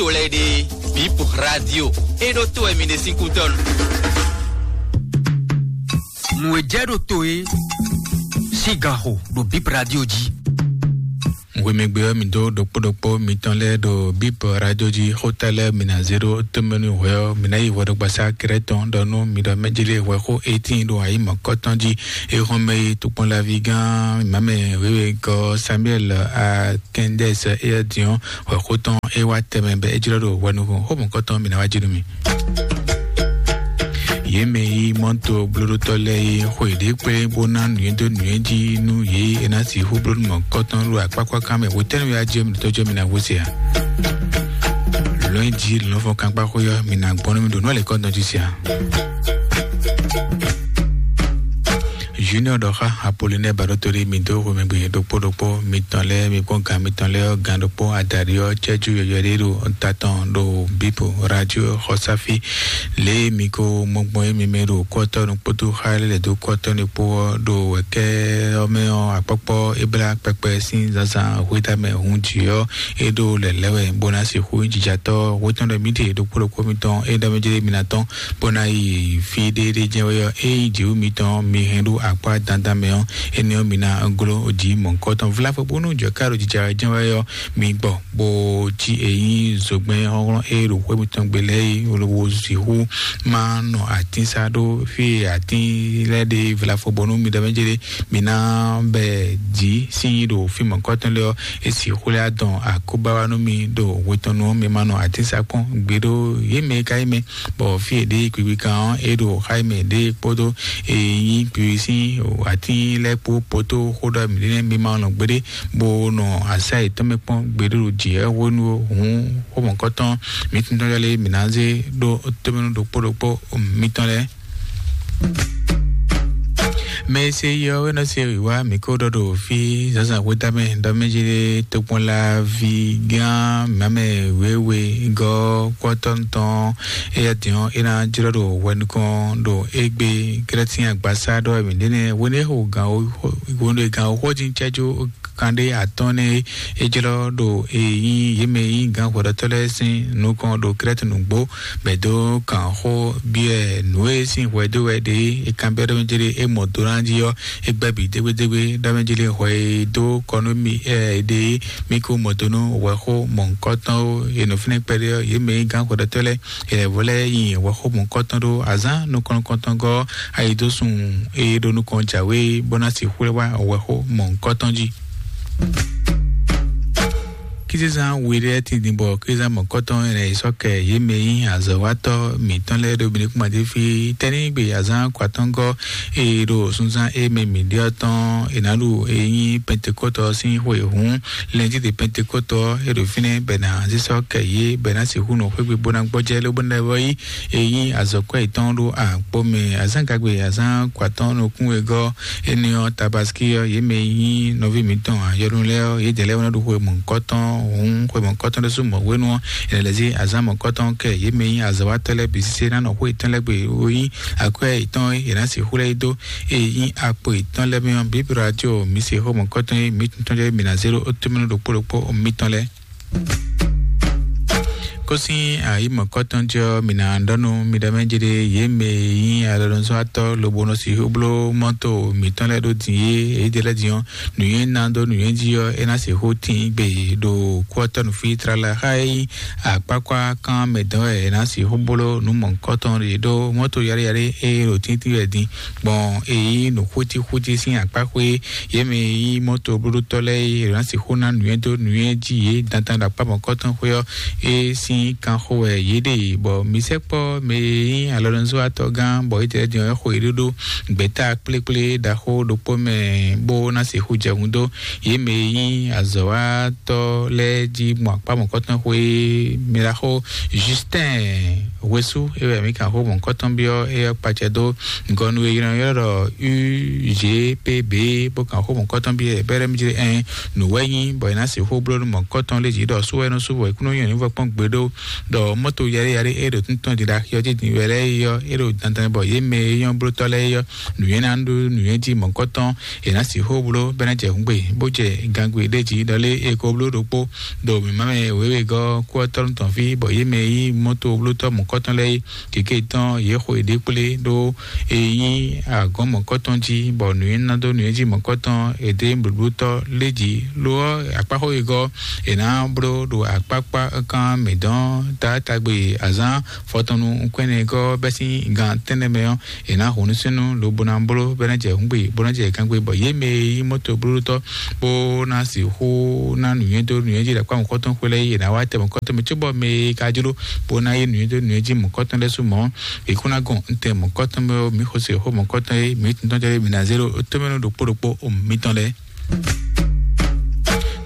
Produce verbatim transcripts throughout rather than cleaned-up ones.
to lɛ́ɛ ɖe, Bip Radio, é ɖó to wɛ mi ɖe sín kútɔ́nu. Nǔ e jɛ ɖo to e sín gan xo ɖo Bip Radio jí. Hwemɛgbe ɔ́, mi dó ɖokpó ɖokpó mitɔn lɛ́ɛ ɖo Bip Radio jí. Xóta lɛ́ɛ mi ná zé ɖó tómɛnú hwɛ ɔ́, mi ná yi hwɛɖogbasá kɛɖɛtɔn ɖɔ nú mi ɖɔ mɛjélé hwɛxó eighteen ɖo ayǐ mɔ̌kɔtɔn jí. Éhɔ́nmɛ e tokpɔnlaví gán mamɛ wěwe gɔ́ Samuel Akɛndɛs éyɛ́ din ɔ́, hwɛxó tɔn é wá tɛmɛ bɔ é jlɔ́ ɖo hwɛ nukɔn. Xó mɔ̌kɔtɔn mi ná wá jí nú mi. Yě mɛ e yí mɔ́to blóɖótɔ́ lɛ́ɛ é xwe ɖě kplé bó ná nǔnywɛ́ dó nǔnywɛ́ jí nú yě e ná sixú bló nú mɔ̌kɔtɔn ɖo akpákpákan mɛ. Hwetɛ́nu wɛ á jɛ mi ɖo tɔ́jọ́ mi ná hwesɛ a? Lɔ̌nyijǐ lɔ̌nfɔ́n kankpáxwé ɔ́, mi ná gbɔn nú mi ɖo nǔ alɛ̌kɔ́ntɔn jí se a? Junior ɖɔ xá Apolinɛ Baɖótolí mi dó xomɛgbe ɖokpó ɖokpó mitɔn lɛ́ɛ, mi kpɔ́n gǎn mitɔn lɛ́ɛ ɔ́, gǎn ɖokpó adaɖi ɔ́ cɛ́jú yɔyɔ̌ ɖé ɖo ta tɔn ɖo Bíbo Radio xɔsáfí. Lě e mi ko mɔ gbɔn é mi mɛ ɖo kɔ́tɔ́ nukpótó xá lɛ́ lɛ̌ dó kɔ́tɔ́ nukpó ɔ́ ɖo wɛ̌kɛ́ ɔ́ mɛ ɔ́, akpɔ́kpɔ́ é blá kpɛkpɛ sín zǎnzǎn hwéta mɛ hun jǐ ɔ́, é ɖó lɛ̌lɛ́ wɛ bó ná sixú nyí jijatɔ́ hwetɔ́n ɖɔ mǐ ɖe ɖokpó ɖokpó mitɔn é ɖɔ mɛ jlé mi ná tɔ́n bó ná yi fí ɖé ɖé jɛ́n wɛ ɔ́, ényí jǐwú mitɔn mi hɛn ɖó akpá dandan mɛ ɔ́, énɛ́ ɔ́, mi ná gló jǐ mɔ̌hunkɔtɔn. Vlafo bónú jɔ̌ká ɖo jijɛ wɛ jɛ́n wɛ ɔ́, mi gbɔ bó cí èyí zogbɛ́n hlɔ́nhlɔ́n e ɖo xwé mitɔn gbe lɛ́ɛ é lobo sixú ma nɔ atín sá ɖó fí e atín lɛ́ɛ ɖe vlafo bónú mi ɖɔ mɛ jɛ ɖe mi ná bɛ jǐ sín ɖo fí mɔ̌hunkɔtɔn lɛ́ɛ ɔ́, é sixú lɛ́ adɔn akóbá wá nú mi ɖo hwetɔnnu ɔ́, mi ma nɔ atín sá kpɔ́n gbeɖó yě mɛ e ka nyí mɛ bɔ fí e ɖě kpikpi kan ɔ́, é ɖo xá e mɛ ɖě kpódó e nyí kpikpi sín atín lɛ́ɛ kpó poto xó ɖɔ mǐ ɖe nɛ́ mi ma nɔ gbeɖé bó nɔ asá yětɔn mɛ kpɔ́n gbeɖé ɖo jǐ ɛ hwenu hǔn xó mɔ̌kɔtɔn mǐtɔn lɛ́ɛ mǐ ná zé ɖó tómɛnú ɖokpó ɖokpó mitɔn lɛ́ɛ. Mɛ e se yi ɔ́ wɛ nɔ se wǐwá mǐ ko ɖɔ ɖo fí zǎnzǎn xwéta mɛ ɖɔ mɛ jí ɖe tokpɔnlaví gán mǎmɛ wěwe gɔ́ kpɔ́tɔ́ tɔn éyɛ́ din ɔ́, é ná jlɔ́ ɖo hwɛ nukɔn ɖo égbé Krɛ́tín agbasá ɖɔ wɛ mǐ ɖe nɛ́ hwenu e xo gǎn hwenu e gǎn xó dín cɛ́jú kanɖé atɔ́ɔ́n nɛ́ é jlɔ́ ɖo e nyí yě mɛ e nyí gǎn hwɛɖɔtɔ́ lɛ́ɛ sín nukɔn ɖo Krɛ́ti nǔgbó bɔ é dó kan xó byɔ́ ɛ nǔ e sín hwɛ dó wɛ ɖe é kanbyɔ́ ɖɔ mɛ jlé é mɔ do ná jí ɔ́, é gbɛ́ bǐ dégbédégbé ɖɔ mɛ jlé hwɛ e dó kɔ nú mì ɛ ɖe é, mì ko mɔ do nú hwɛxó mɔ̌hunkɔtɔn ó. È nɔ fínɛ́ kpɛɖé ɔ́, yě mɛ e nyí gǎn hwɛɖɔtɔ́ lɛ́ɛ, è lɛ̌ vɔ lɛ́ɛ nyi hwɛxó mɔ̌hunkɔtɔn ɖó azǎn nukɔn-nukɔntɔn gɔ́ ayidósun e ɖo nukɔn jǎwe bó ná sixú wá hwɛxó mɔ̌hunkɔtɔn jí. Kízezán we ɖé tindin bɔ kízezán mɔ̌kɔtɔn ɛnɛ yi sɔ́ kɛ yě mɛ nyí azɔ̌watɔ́ mǐtɔn lɛ́ɛ ɖo Benikúmadéfí tɛ́nnígbe azán kwatɔ́ngɔ́ e ɖo sunzán e mɛ mǐ ɖe ɔ́ tɔn è nǎ ɖu e nyí Pentekótɔ ɔ́ sín xwe hǔn. Lɛ̌njídé Pentekótɔ ɔ́, é ɖo fínɛ́ bɔ è nǎ zé sɔ́ kɛ yě bɔ è nǎ sixú nɔ xwé gbe bó ná gbɔjɛ́ lóbó ná vɔ yí e nyí azɔ̌kwɛ́ yětɔn ɖo akpó mɛ. Azán gagbe azán kwatɔ́n nukún wegɔ́ énɛ́ ɔ́, Tabaski ɔ́, yě mɛ e nyí nɔví mǐtɔn ayɔnu lɛ́ɛ ɔ́, yědɛɛ lɛ́ɛ wɛ nɔ ɖo xwe mɔ̌hunkɔtɔn hǔn xwe mɔ̌hunkɔtɔn ɖésú mɔ̌hwenu ɔ́, è nǎ lɛ́ zé azǎn mɔ̌hunkɔtɔn kɛ yě mɛ e nyí azɔ̌watɔ́ lɛ́ɛ bǐ sésé ná nɔ xwé yětɔn lɛ́ɛ gbe wú nyí akwɛ́ yětɔn e è nǎ sixú lɛ́ yi dó e nyí akpo yětɔn lɛ́ɛ mɛ ɔ́. Bíbí Radio mi se xó mɔ̌hunkɔtɔn e mi tɔn jɛ mi ná zé ɖó tómɛnú ɖokpó ɖokpó mitɔn lɛ́ɛ. Kó sín ayǐ mɔ̌kɔtɔn jɔ mǐ ná ɖɔ nú mi ɖɔ mɛ jɛ ɖe yě mɛ e nyí alɔnuzɔ́watɔ́ lobo nɔ sixú bló mɔ́to mǐtɔn lɛ́ɛ ɖó din é, é jɛ lɛ́ din ɔ́, nǔnywɛ́ ná dó nǔnywɛ́ jí ɔ́, é ná sixú tín gbe ɖo kú ɔ́ tɔ́ nǔfí tlala xá é nyí akpákpá kan mɛ dɔn wɛ é ná sixú bló nǔ mɔ̌kɔtɔn ɖe ɖó mɔ́to yaɖé yaɖé e ɖo tíntín wɛ din gbɔn e nyí nǔxútíxútí sín akpáxwé. Yě mɛ e nyí mɔ́to blóɖótɔ́ lɛ́ɛ e è nǎ sixú ná nǔnywɛ́ dó nǔnywɛ́ jí yě dandan ɖo akpá mɔ̌kɔtɔn xwé ɔ́, é sín kanxo wɛ yě ɖe, bɔ mi sɛkpɔ́ mɛ e nyí alɔnuzɔ́watɔ́ gán bɔ é jɛ din ɔ́ xo yě ɖó ɖó gbɛ̌ta kplékplé ɖaxó ɖokpó mɛ bó ná sixú jɛ hun dó yě mɛ e nyí azɔ̌watɔ́ lɛ́ɛ jí gbɔn akpá mɔ̌kɔtɔn xwé mɛ ɖaxó Justin Hwesú é wɛ mǐ kan xó mɔ̌kɔtɔn byɔ́ éyɛ́ kpacɛ dó gɔnu e ylɔ́ ylɔ́ ɖɔ U G P B bó kan xó mɔ̌kɔtɔn byɔ́ ɛ bɛ́ ɖɛ́ mí jlé ɛn nǔ wɛ nyí bɔ è nǎ sixú bló nú mɔ̌kɔtɔn lé jǐ ɖɔ sú wɛ nɔ sú bɔ è kún nɔ nyɔ ní vɔ kpɔ́n gbeɖó ɖɔ mɔto yɛɖé yɛɖé e ɖo tɔntɔn ɖi ɖe axi ɔ́ jí din wɛ lɛ́ɛ yi ɔ́, e ɖo dandan bɔ yě mɛ e nyɔ́ blótɔ́ lɛ́ɛ yi ɔ́, nǔnywɛ́ ná ɖó nǔnywɛ́ jí mɔ̌kɔtɔn, è nǎ sixú bló bɔ é ná jɛ hǔngbe bó jɛ gangbe ɖé jí ɖɔlé e ko bló ɖokpó ɖo mǐmá mɛ wěwegɔ́ kú ɔ́ tɔ́ tɔn fí, bɔ yě mɛ e nyí mɔto blótɔ́ mɔ̌kɔtɔn lɛ́ɛ yi kěké tɔn yě xo yěɖée kplé ɖó e nyí agɔ̌n mɔ̌kɔtɔn jí, bɔ nǔnywɛ́ ná dó nǔnywɛ́ jí mɔ̌kɔtɔn è dó blǒblótɔ́ lé jí. Lo ɔ́, akpáxó e gɔ́ è nǎ bló ɖo akpákpá kán mǐ dɔn taátagbe azǎn fɔtɔnnu nukɔn énɛ́ gɔ́ bɛ́ sín gan tɛ́nnɛ mɛ ɔ́, è nǎ hun nú súnnu lobo ná bló bɔ é ná jɛ hǔngbe bó ná jɛ gangbe, bɔ yě mɛ e nyí mɔto blóɖótɔ́ bó ná sixú ná nǔnywɛ́ dó nǔnywɛ́ jí ɖo akpá mɔ̌kɔtɔn xwé lɛ́ɛ yi, è nǎ wá tɛ mɔ̌kɔtɔn mɛ cóbɔ mɛ e ka jló bó ná yí nǔnywɛ́ dó nǔnywɛ́ jí mɔ̌kɔtɔn lɛ́ɛ sú mɔ̌. È kún ná gɔn ntɛ mɔ̌kɔtɔn mɛ ɔ́, mǐ xo sixú mɔ̌kɔtɔn e mǐ tɔn jɛ mǐ ná zé ɖo tómɛnu ɖokpó ɖokpó mitɔn lɛ́ɛ.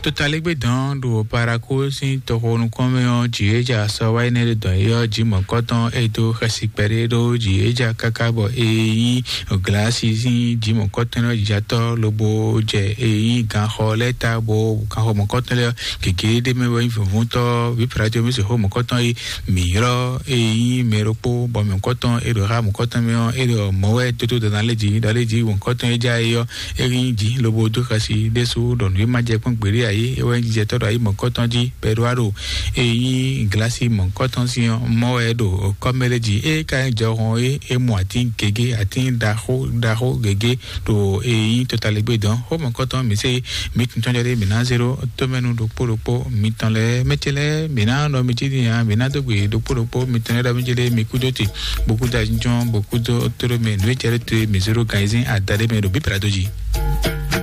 Totalégbé dɔn ɖo Paraku sín toxo nukɔn mɛ ɔ́, jǐ e ja sɔ wá yi nɛ ɖe dɔn é ɔ́, jǐ mɔ̌kɔtɔn e dó xɛsi kpɛɖé ɖó jǐ e ja káká bɔ e nyí glasi sín jǐ mɔ̌kɔtɔn ɔ́ jijatɔ́ lobo jɛ e nyí ganxɔ lɛ́ɛ ta, bo ganxɔ mɔ̌kɔtɔn lɛ́ɛ ɔ́, gěgé ɖé mɛ wɛ nyí vǐvúntɔ́ vǐ Platiyo mɛ sixú mɔ̌kɔtɔn e mǐ ylɔ́ e nyí mɛ ɖokpó bɔ mɔ̌kɔtɔn e ɖo xá mɔ̌kɔtɔn mɛ ɔ́, e ɖɔ mɔ̌ wɛ tótó dɔ̌n ná lé jǐ ɖɔ lé jǐ mɔ̌kɔtɔn e já é ɔ́, é nyí jǐ lobo dó xɛsi ɖésú ɖɔ nǔ e ma jɛ kpɔ́n gbeɖé ǎ é, é wɛ nyí jijɛtɔ́ ɖo ayǐ mɔ̌kɔtɔn jí bɔ é ɖó wá ɖo e nyí glasi mɔ̌kɔtɔn sín ɔ́, mɔ̌ wɛ ɖo kɔ́mɛ lɛ́ɛ jí. É ka nyí jɔhɔn é, é mɔ atín gěgé, atín ɖaxó ɖaxó gěgé ɖo e nyí totaligbé dɔn. Xó mɔ̌kɔtɔn mǐ se mǐ tun tɔn jɔ ɖé mǐ ná zé ɖó tómɛnu ɖokpó ɖokpó mitɔn lɛ́ɛ. Mɛ ce lɛ́ɛ mǐ ná nɔ mi cí din ǎ, mǐ ná dó gbe ɖokpó ɖokpó mitɔn lɛ́ɛ ɖɔ mí ce lɛ́ɛ mi kúdó te, bó kúdó azinjɔ́n, bó kúdó tóɖó mɛ nǔ e cɛ ɖó te mǐ zé ɖó gan ayizɛ́n adaɖé mɛ ɖo bíblá dó jí.